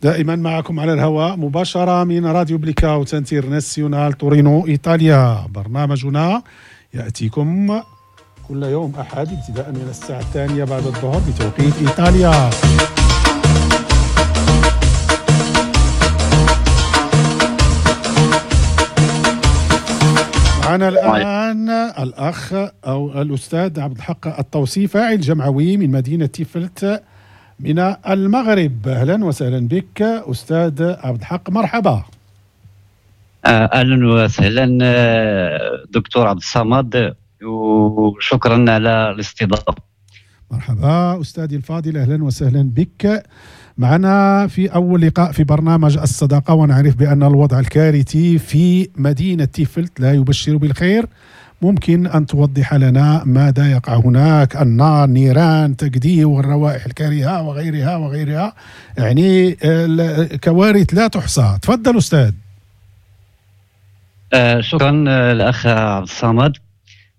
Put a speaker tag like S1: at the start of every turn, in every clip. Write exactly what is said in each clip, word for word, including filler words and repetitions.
S1: دائما معكم على الهواء مباشرة من راديو بليكاوت انترناسيونال تورينو إيطاليا. برنامجنا يأتيكم كل يوم أحد ابتداء من الساعة الثانية بعد الظهر بتوقيت إيطاليا. معنا الآن الأخ أو الأستاذ عبد الحق الطوسي، فاعل جمعوي من مدينة تيفلت من المغرب. أهلا وسهلا بك أستاذ عبد الحق، مرحبا.
S2: أهلا وسهلا دكتور عبد الصمد، وشكرا على الاستضافة.
S1: مرحبا أستاذي الفاضل، أهلا وسهلا بك معنا في أول لقاء في برنامج الصداقة. ونعرف بأن الوضع الكارثي في مدينة تيفلت لا يبشر بالخير. ممكن أن توضح لنا ماذا يقع هناك؟ النار، نيران، تجديد، والروائح الكريهة وغيرها وغيرها، يعني كوارث لا تحصى. تفضل أستاذ.
S2: آه شكرا الأخ عبد الصمد.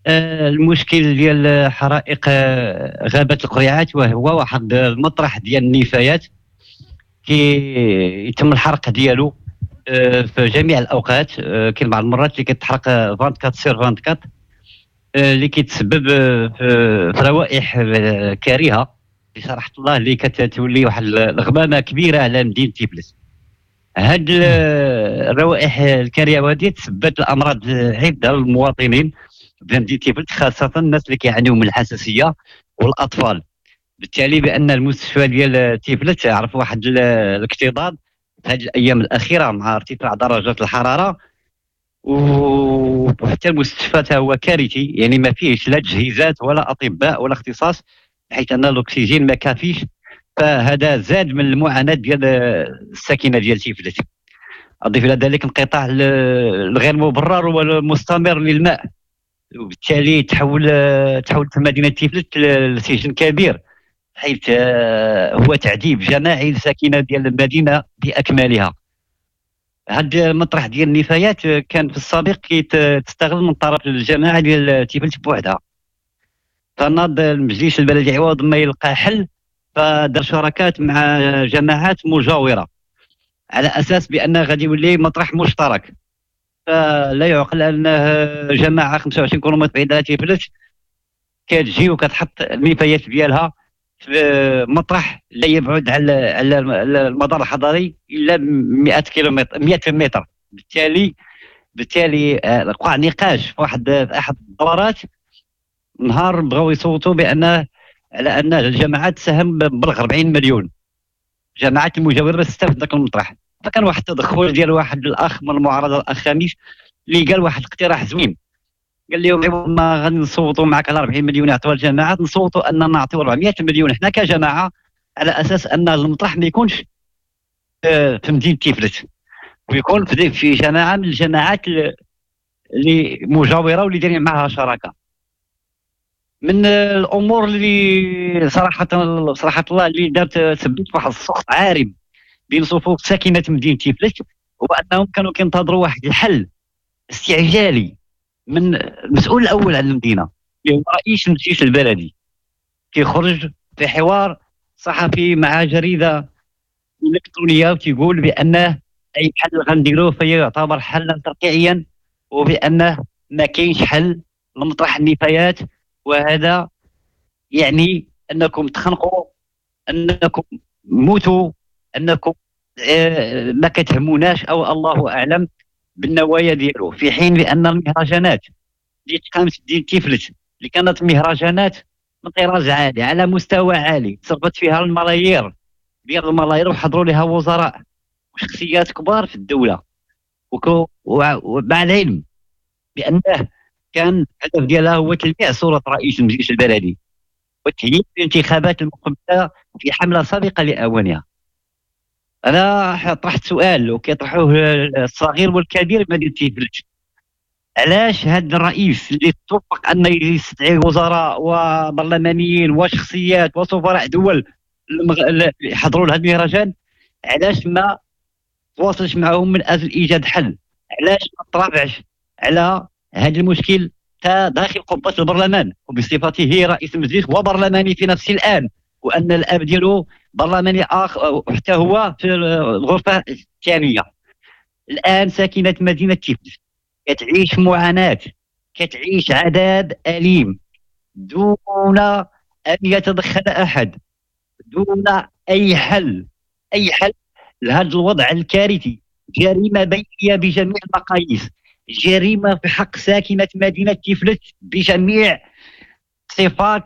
S2: آه المشكل ديال حرائق غابة القريعات وهو واحد المطرح ديال النفايات كي يتم الحرق ديالو في جميع الاوقات. كاين بعض المرات اللي كتحرق أربعة وعشرين sur أربعة وعشرين، اللي كيتسبب في روائح كريهة بصراحة الله، اللي كتولي واحد الغمامة كبيرة على مدينة تيفلت. هاد الروائح الكريهة هذه تسببت الامراض عده للمواطنين بمدينة تيفلت، خاصة الناس اللي كيعانيو من الحساسية والاطفال. بالتالي بان المستشفى ديال تيفلت عرف واحد الاكتظاظ في هذه الايام الاخيرة مع ارتفاع درجات الحرارة، وحتى المستشفى تا هو كارثي، يعني ما فيهش لا تجهيزات ولا اطباء ولا اختصاص، بحيث ان الاكسجين ما كافيش. فهذا زاد من المعاناة ديال الساكنة ديال تيفلت. اضيف الى ذلك انقطاع الغير مبرر والمستمر للماء، وبالتالي تحول تحولت مدينة تيفلت لسجن كبير، حيث هو تعذيب جماعي للساكنه ديال المدينة باكملها. هذا المطرح ديال النفايات كان في السابق كيتستغل من طرف الجماعة ديال تيفلت بوحدها. فناض المجلس البلدي عوض ما يلقى حل، فدار شراكات مع جماعات مجاوره على اساس بان غادي يولي مطرح مشترك. فلا يعقل ان جماعة خمسة وعشرين كيلومتر بعيدة على تيفلت كتجي وكتحط النفايات ديالها في مطرح لا يبعد على على المدار الحضري الا مئة كيلومتر مئة متر. بالتالي بالتالي وقع نقاش في واحد في احد الدورات نهار بغاو يصوتوا بان على ان الجماعات تساهم ببلغ أربعين مليون، جماعات المجاورة باش تستافد ذاك المطرح. فكان واحد التدخل ديال واحد الاخ من المعارضة، الاخ خميس، اللي قال واحد الاقتراح زوين. قال لهم ما غادي نصوتوا معك على أربعين مليون يعطوها الجماعات، نصوتوا ان نعطيو أربعمئة مليون حنا كجماعة، على اساس ان المطرح ما يكونش في مدينة تيفلت، ويكون في جماعة من الجماعات اللي مجاوره واللي دايرين معها شراكة. من الامور اللي صراحة صراحة الله اللي دارت سببت واحد السخط عارم بين صفوف ساكنة مدينة تيفلت، هو انهم كانوا كينتظروا واحد الحل استعجالي من المسؤول الاول على المدينة اللي هو رئيس المجلس البلدي. كيخرج في حوار صحفي مع جريدة الكترونية وتيقول بانه اي حل غنديروه فيعتبر حلا ترقيعيا، وبانه ما كاينش حل لمطرح النفايات، وهذا يعني انكم تخنقوا، انكم موتوا، انكم ما كتهموناش، او الله اعلم بالنوايا ديالو. في حين بان المهرجانات اللي تقامت ديال تيفلت اللي كانت مهرجانات من طراز عالي على مستوى عالي، صرفت فيها الملايير ديال الملايير، وحضروا لها وزراء وشخصيات كبار في الدولة، ومع العلم بانه كان الهدف ديالها هو تلميع صوره رئيس المجلس البلدي وتهيئ الانتخابات المقبلة في حمله سابقه لاوانها. انا طرحت سؤال وكيطرحوه الصغير والكبير بمدينة تيفلت، علاش هذا الرئيس اللي توفق ان يستدعي وزراء وبرلمانيين وشخصيات وسفراء دول يحضروا لهذا المهرجان، علاش ما تواصلش معهم من اجل ايجاد حل؟ علاش ما ترافعش على هذا المشكل تا داخل قبه البرلمان وبصفته رئيس المجلس وبرلماني في نفس الان وان الاب ديالو برلماني اخر وحتى هو في الغرفة الثانية. الان ساكنة مدينة تيفلت كتعيش معاناة، كتعيش عذاب اليم دون ان يتدخل احد، دون اي حل، اي حل لهذا الوضع الكارثي. جريمة بيئية بجميع المقاييس، جريمة في حق ساكنة مدينة تيفلت بجميع صفات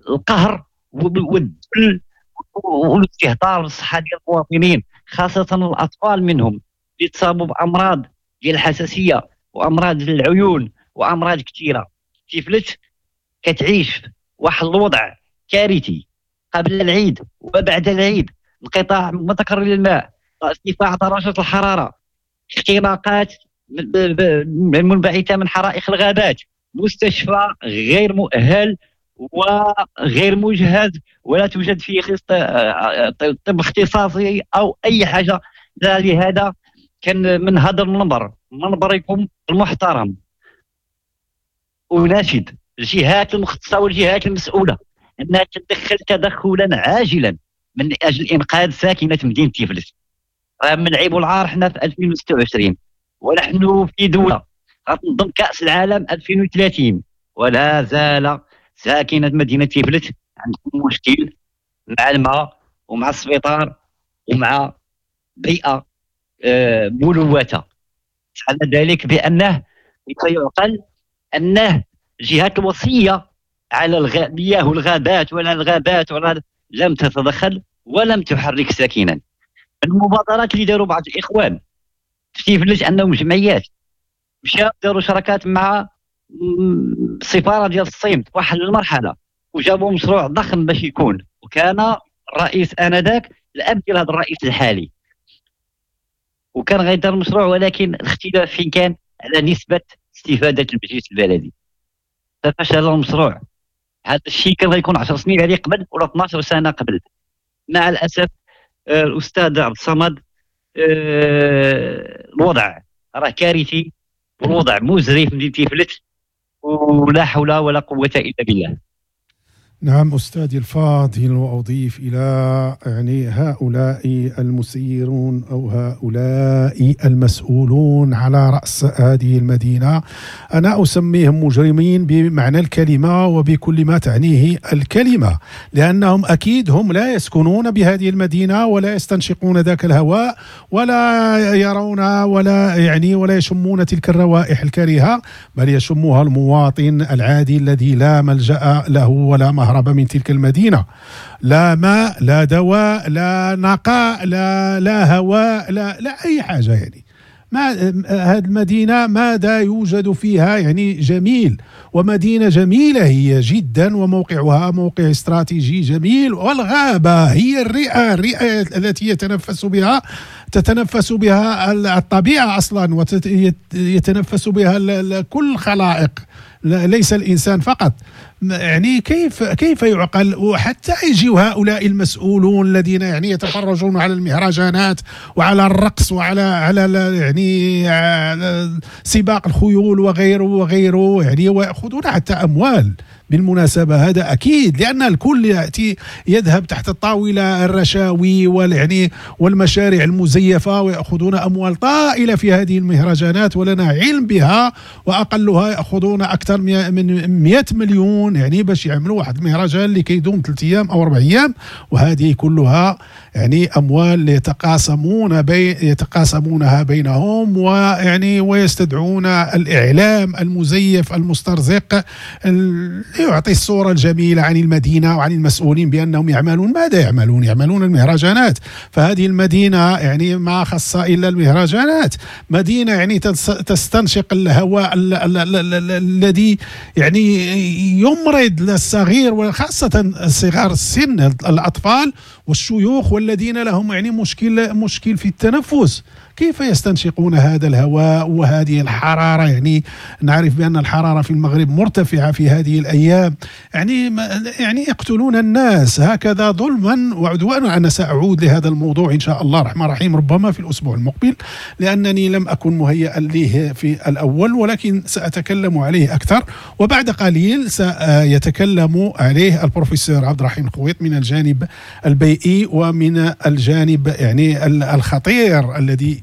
S2: القهر والذل والاستهتار بالصحة ديال المواطنين، خاصة الاطفال منهم اللي تصابوا بامراض ديال الحساسية وامراض العيون وامراض كثيرة. تيفلت كتعيش واحد الوضع كارثي قبل العيد وبعد العيد، انقطاع متكرر للماء، ارتفاع درجه الحرارة، اختناقات منبعثه من حرائق الغابات، مستشفى غير مؤهل وغير مجهز ولا توجد فيه طب اختصاصي او اي حاجة. لهذا كان من هذا المنبر، منبركم المحترم، اناشد الجهات المختصة والجهات المسؤولة انها تتدخل تدخلا عاجلا من اجل انقاذ ساكنة مدينة تيفلت. راه من العيب والعار حنا في ألفين وستة وعشرين ونحن في دولة غتنظم كاس العالم ألفين وثلاثين، ولا زال ساكنة مدينة تيفلت عندهم مشكل مع الماء ومع السبيطار ومع بيئة ملوثة. على ذلك بانه يعقل انه الجهات الوصية على المياه والغابات ولا الغابات ولا لم تتدخل ولم تحرك ساكنا. المبادرات اللي داروا بعض الاخوان في تيفلت انهم جمعيات مشاو داروا شراكات مع السفارة ديال الصين في واحد المرحلة وجابوا مشروع ضخم باش يكون، وكان الرئيس انذاك الاب ديال هذا الرئيس الحالي، وكان غيدار المشروع، ولكن الاختلاف فين كان على نسبه استفاده المجلس البلدي، ففشل المشروع. هذا الشيء كان غيكون عشر سنين هذه قبل ولا اثناش سنة قبل. مع الاسف الاستاذ عبد الصمد الوضع راه كارثي والوضع مزري في مدينة تيفلت، ولا حول ولا قوة الا بالله.
S1: نعم أستاذي الفاضل، وأضيف إلى يعني هؤلاء المسيرون أو هؤلاء المسؤولون على رأس هذه المدينة، أنا أسميهم مجرمين بمعنى الكلمة وبكل ما تعنيه الكلمة، لأنهم أكيد هم لا يسكنون بهذه المدينة ولا يستنشقون ذاك الهواء ولا يرون ولا يعني ولا يشمون تلك الروائح الكريهة، بل يشمها المواطن العادي الذي لا ملجأ له ولا مهرب من تلك المدينة. لا ماء، لا دواء، لا نقاء، لا لا هواء، لا لا أي حاجة. يعني ما هذه المدينة ماذا يوجد فيها يعني جميل، ومدينة جميلة هي جدا، وموقعها موقع استراتيجي جميل، والغابة هي الرئة، الرئة التي يتنفس بها تتنفس بها الطبيعة أصلا، ويتنفس بها كل الخلائق، ليس الإنسان فقط. يعني كيف كيف يعقل وحتى يجيوا هؤلاء المسؤولون الذين يعني يتفرجون على المهرجانات وعلى الرقص وعلى على يعني على سباق الخيول وغيره وغيره، يعني ويأخذون حتى أموال بالمناسبة. هذا أكيد، لأن الكل يأتي يذهب تحت الطاولة الرشاوي والعني والمشاريع المزيفة، ويأخذون أموال طائلة في هذه المهرجانات ولنا علم بها، وأقلها يأخذون أكثر من مئة مليون يعني باش يعملوا واحد المهرجان اللي كيدوم ثلاث أيام أو أربع أيام، وهذه كلها يعني أموال يتقاسمون بي يتقاسمونها بينهم، ويعني ويستدعون الإعلام المزيف المسترزق يعطي الصورة الجميلة عن المدينة وعن المسؤولين بأنهم يعملون. ماذا يعملون؟ يعملون المهرجانات. فهذه المدينة يعني ما خص إلا المهرجانات، مدينة يعني تستنشق الهواء الذي يعني يمرض الصغير، وخاصة صغار السن، الأطفال والشيوخ والذين لهم يعني مشكل مشكل في التنفس. كيف يستنشقون هذا الهواء وهذه الحرارة؟ يعني نعرف بأن الحرارة في المغرب مرتفعة في هذه الأيام. أيام، يعني يعني يقتلون الناس هكذا ظلما وعدوانا. أنا سأعود لهذا الموضوع إن شاء الله الرحمن الرحيم ربما في الأسبوع المقبل، لأنني لم أكن مهيئا له في الأول، ولكن سأتكلم عليه أكثر. وبعد قليل سيتكلم عليه البروفيسور عبد الرحيم الخويط من الجانب البيئي ومن الجانب يعني الخطير الذي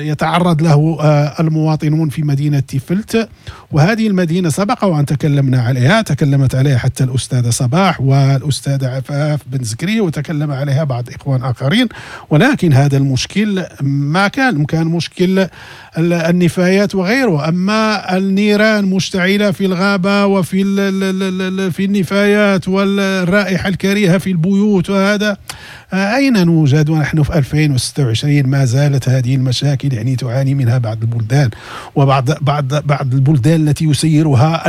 S1: يتعرض له المواطنون في مدينة تيفلت. وهذه المدينة سبق وأن تكلمنا عليها، تكلمت عليها حتى الأستاذة صباح والأستاذة عفاف بن زكري، وتكلم عليها بعض إخوان آخرين. ولكن هذا المشكل ما كان كان مشكل النفايات وغيره، أما النيران مشتعلة في الغابة وفي في النفايات والرائحة الكريهة في البيوت، وهذا أين نوجد ونحن في ألفين وستة وعشرين؟ ما زالت هذه المشاكل يعني تعاني منها بعض البلدان، وبعض بعض بعض البلدان التي يسيرها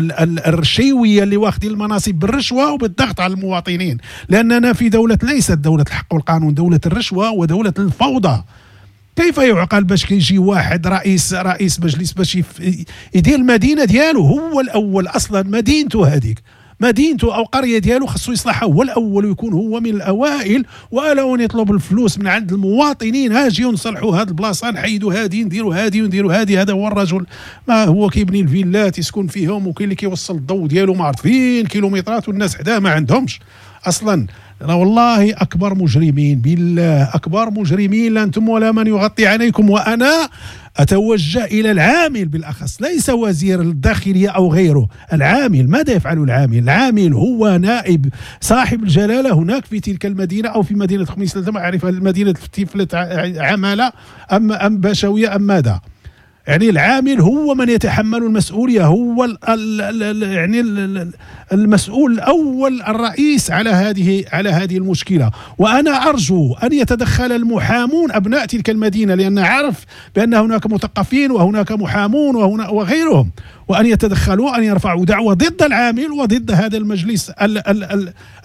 S1: الرشيوية اللي واخدين المناصب بالرشوة وبالضغط على المواطنين، لأننا في دولة ليست دولة الحق والقانون، دولة الرشوة ودولة الفوضى. كيف يعقل باش كيجي واحد رئيس رئيس مجلس باش يدير المدينة ديالو هو الأول، أصلا مدينته هذيك مدينته أو قرية ديالو خصو يصلحها هو الأول ويكون هو من الأوائل، وألا يطلب الفلوس من عند المواطنين، هاجيو نصلحوا هاد البلاصة، نحيدوا هادي، نديروا هادي ونديروا هادي. هذا هو الرجل، ما هو كيبني الفيلات يسكن فيهم، وكاين اللي كيوصل الضوء ديالو ما عرف فين كيلومترات، والناس حداه ما عندهمش أصلا. والله أكبر مجرمين، بالله أكبر مجرمين، لا أنتم ولا من يغطي عليكم. وأنا أتوجه إلى العامل بالأخص، ليس وزير الداخلية أو غيره، العامل. ماذا يفعل العامل؟ العامل هو نائب صاحب الجلالة هناك في تلك المدينة أو في مدينة خميس، لا أعرف المدينة تيفلت عمالة أم أم باشوية أم ماذا. يعني العامل هو من يتحمل المسؤولية، هو ال ال ال يعني ال المسؤول الأول الرئيس على هذه على هذه المشكلة. وأنا أرجو أن يتدخل المحامون أبناء تلك المدينة، لأن عارف بأن هناك مثقفين وهناك محامون وهنا وغيرهم، وأن يتدخلوا، أن يرفعوا دعوة ضد العامل وضد هذا المجلس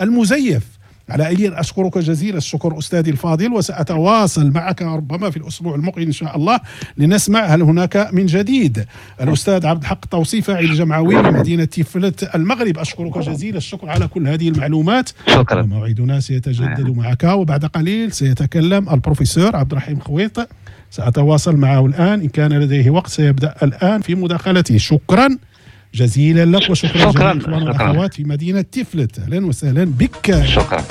S1: المزيف. على أي أشكرك جزيل الشكر أستاذي الفاضل، وسأتواصل معك ربما في الأسبوع المقبل إن شاء الله لنسمع هل هناك من جديد. الأستاذ عبد الحق الطوسي فاعل جمعوي لمدينة تيفلت المغرب، أشكرك جزيل الشكر على كل هذه المعلومات.
S2: شكرا.
S1: موعدنا سيتجدد معك، وبعد قليل سيتكلم البروفيسور عبد الرحيم خويط، سأتواصل معه الآن إن كان لديه وقت، سيبدأ الآن في مداخلته. شكرا جزيلا لك، وشكرا جميع الإخوان والأخوات في مدينة تيفلت. أهلا وسهلا بك.
S2: شكرا.